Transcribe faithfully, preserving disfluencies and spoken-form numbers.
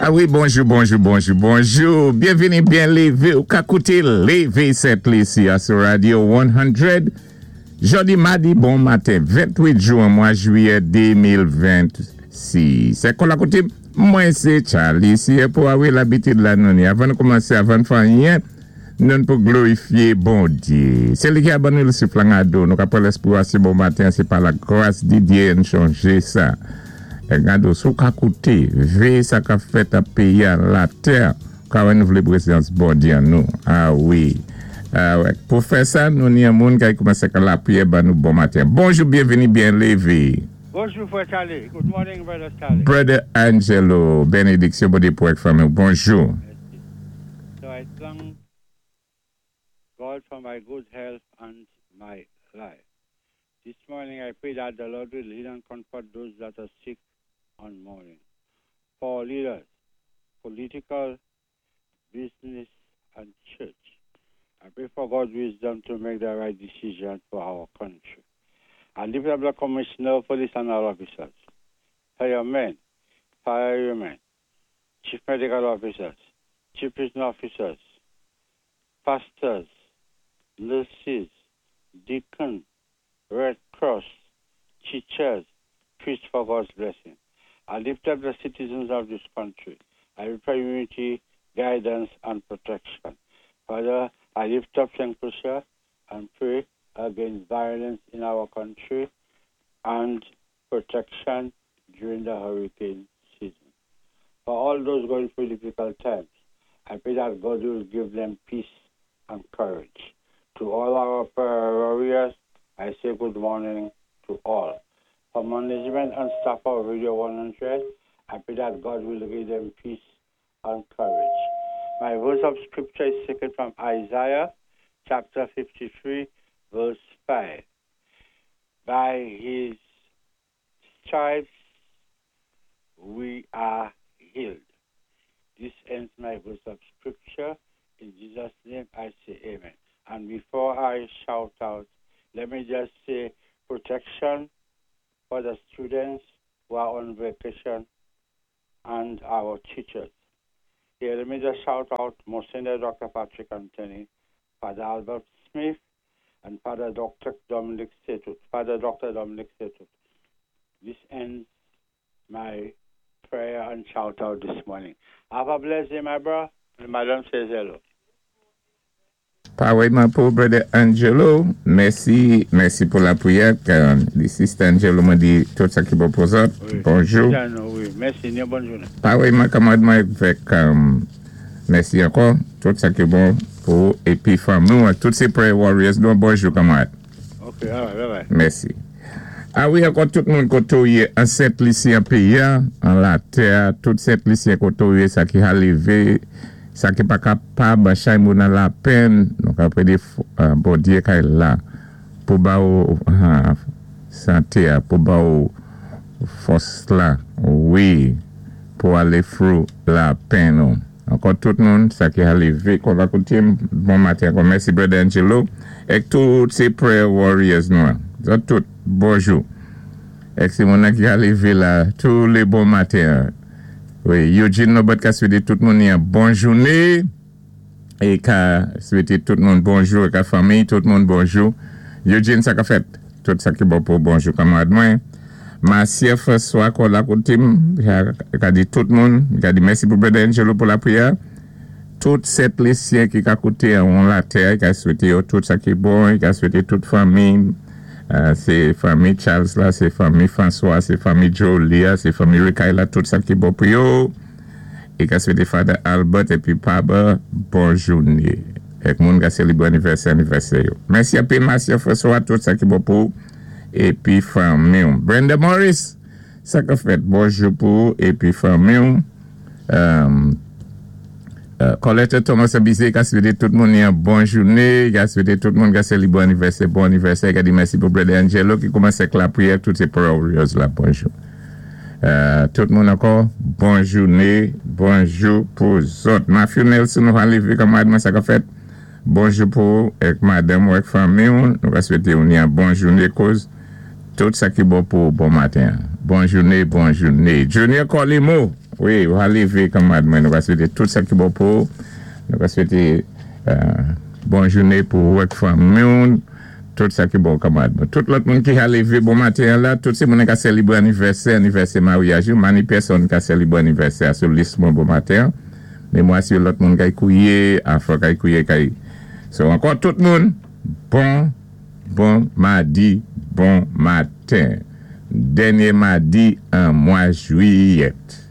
A wi, bonjou, bonjou, bonjou, bonjou. Byenvini, byen lévé. Ou ka kouté Lévé Sent-Lisi sou Radio san. Jòdi madi, bon maten, ventwit jwen, mwa jwiyè de mil vennsis. Sé kon la kouté, mwen sé Charlie, si pou awi labitid la nou ni. Avan nou koumansé, avan fè anyen, nou pou glorifyé Bondyé. Sé li ki a ban nou souf lan do, nou ka pran léspri sé bon maten, sé pa la gras di Dye nou chanjé sa. É gado, sou ka kouté, vé sa ka fèt a péyi a latè, ka wè nou vlé pwézans Bondyé an nou. A wi. A wè. Pou fè sa, nou ni yon moun ki koumansé ka lapriyè ban nou bon maten. Bonjou, byenvini, byen lévé. Bonjou, frè Charlie. Good morning, Brother Charlie. Brother Angelo, bénédiksyon Bondyé pou fanmi. Bonjou. Mèsi. So I thank God for my good health and my life. This morning I pray that the Lord will heal and comfort those that are sick and mourning. For leaders, political, business, and church, I pray for God's wisdom to make the right decision for our country. I lift up the commissioner of police and all officers, firemen, firewomen, chief medical officers, chief prison officers, pastors, nurses, deacons, Red Cross, teachers, priests for God's blessing. I lift up the citizens of this country. I pray unity, guidance, and protection. Father, I lift up Saint Lucia and pray against violence in our country and protection during the hurricane season. For all those going through difficult times, I pray that God will give them peace and courage. To all our prayer warriors, I say good morning to all. For management and staff of Radio one hundred, I pray that God will give them peace and courage. My verse of scripture is taken from Isaiah chapter fifty-three, verse five. By his stripes we are healed. This ends my verse of scripture. In Jesus' name I say amen. And before I shout out, let me just say protection for the students who are on vacation and our teachers. Here, let me just shout out Monsignor Doctor Patrick Anthony, Father Albert Smith, and Father Doctor Dominic Setut. Father Doctor Dominic Setut. This ends my prayer and shout out this morning. Have a blessed day, my bro. And Madam says hello. Parèyman pou Brother Angelo, mèsi, mèsi pou lapriyè. The Sister Angelo mwen di tout sa ki bon pou zòt. Wi. Bonjou. Wi, mèsi, bòn jounen. Parèyman kanmarad mwen avèk um, mèsi ankò, tout sa ki bon pou épi fanmi, tout sé prayer warriors, donk bonjou kanmarad. Ok, all right, bye bye. Mèsi. A wi, ankò tout moun koté ou yé an Sent-Lisi an péyi an latè, tout Sent-Lisyen koté ou yé, sa ki ka lévé, sa ki pa kapab, chay moun nan lapenn, donk apwé di Bondyé kay la, pou ba ou santé, pou ba ou fòs la, wi, pou alé through lapenn nou. Ankò tout moun, sa ki ka lévé, kon va kouté, bon maten, ankò mèsi Brother Angelo, èk tout sé prayer warriors nou, zòt tout, bonjou. Èk sé moun ki ka lévé la, tou lé bon maten. Wi, Eugene Nobot ka swété tout moun yon bon jouné, é ka swété tout moun bonjou, é ka fanmi, tout moun bonjou. Eugene, sa ka fèt, tout sa ki bon pou bonjou kanmarad mwen. Marcia François kon la koté, ka di tout moun, ka di mèsi pou Brother Angelo pou lapriyè. Tout Sent-Lisyen ki ka kouté an latè, ka swété yo tout sa ki bon, ka swété tout fanmi, sé fanmi Charles la, sé fanmi François, sé fanmi Jolia, sé fanmi Rikay la, tout sa ki bon pou yo. É ka swété Father Albert épi Paba, bon jouné. Èk moun ka sélébré anivèsè, anivèsè yo. Mèsi anpil Marcia François, tout sa ki bon pou épi fanmi. Brenda Morris, sa ka fèt, bonjou pou épi fanmi. Um, uh, Colette Thomas Abizé, ka swété tout moun yon bon jouné, ka swété tout moun ka sélébré anivèsè, bon anivèsè, ka di mèsi pou Brother Angelo ki koumansé ak lapriyè, tout sé warriors la, bonjou. Uh, tout moun ankò, bon jouné, bonjou pou zòt. Matthew Nelson, nou lévé kanmarad mwen sa ka fèt. Bonjou pou èk madanm ou èk fanmi, nou ka swété yon bon jouné koz tout sa ki bon pou bon maten. Bon jouné, bon jouné. Junior Colimo, Wi, ou lévé kanmarad mwen, nou va swété tout sa ki bon pou ou. Nou va swété euh, bon jounen pou ou ak fanmi, tout sa ki bon kanmarad. Tout lòt moun ki ka lévé bon maten la, tout sé moun ki ka sélébwé anivèsè, anivèsè maryaj, mani pèsonn ka sélébwé anivèsè sou lis mwen bon maten. Mé mwen si lòt moun kay kouwiyé, afò kay kouwiyé kay. So ankò tout moun, bon bon madi, bon maten. Dènyé madi an mwa jwiyèt.